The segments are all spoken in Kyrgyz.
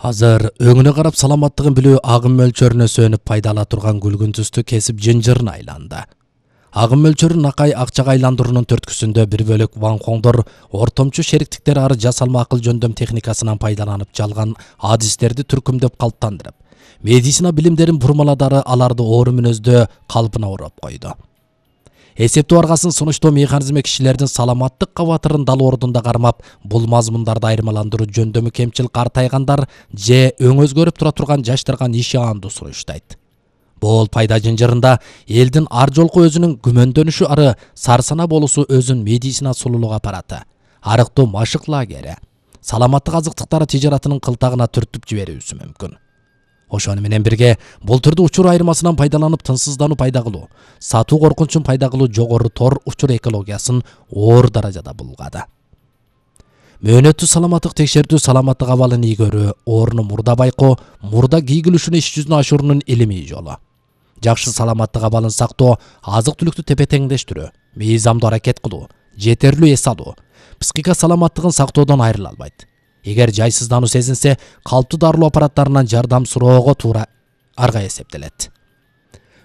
Азыр өңүнө карап саламаттыгын билүү агым мөлчөрүнө сөнүп пайдала турган күлгүн түстү кесип жынжырына айланды. Агым мөлчөрүн акай акчага айландыруунун төрткүсүндө бир бөлөк ванхоңдор ортомчу шериктиктер ары жасалма акыл жөндөм техникасынан пайдаланып жалган адистерди түркүмдөп калыптандырып, медицина билимдерин бурмаладары аларды оору мүнөздө калпына ороп койду. Эсептөө аргасын сунуштоо механизми кишилердин саламаттык кабатырын дал ордунда кармап, бул мазмундарды айырмаландыруу жөндөмү кемчил картайгандар же өң өзгөрүп тура турган жаштарга нишаандуу суруштайт. Бул пайда жынжырында элдин ар жолку өзүнүн күмөндөнүшү ары сарсана болуусу өзүн медицина сулуулук аппараты, арыктоо машык лагери, саламаттык азыктыктары тижаратынын кылтагына түртүп жиберүүсү мүмкүн. Ошону менен бирге бул түрдүү учур айырмасынан пайдаланып тынчсыздануу пайда кылуу, сатуу коркунчун пайда кылуу жогору тор учур экологиясын оор даражада булгады. Мөөнөттүү саламаттык текшертүү саламаттык абалын ийгөрүү, оорууну мурда байкоо, мурда кийгилишүүнү иш жүзүнө ашыруунун илимий жолу. Жакшы саламаттык абалын сактоо, азык-түлүктү тепе-теңдештирүү, мыйзамдуу аракет кылуу, жетерлүү эс алуу, психика саламаттыгын сактоодон айрыла албайт. Эгер жайсыздануу сезинсе, калптуу дарылоо аппараттарынан жардам суроого туура арга эсептелет.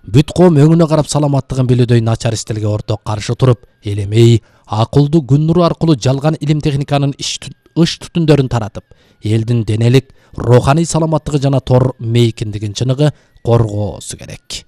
Бүт коом өңүнө карап саламаттыгын билүүдөй начар стилге орток каршы туруп, элемей, акылдуу күн нуру аркылуу жалган илим техниканын ыш түтүндөрүн таратып, элдин денелик, руханий саламаттыгы жана тор мейкиндигин чыныгы коргоосу керек.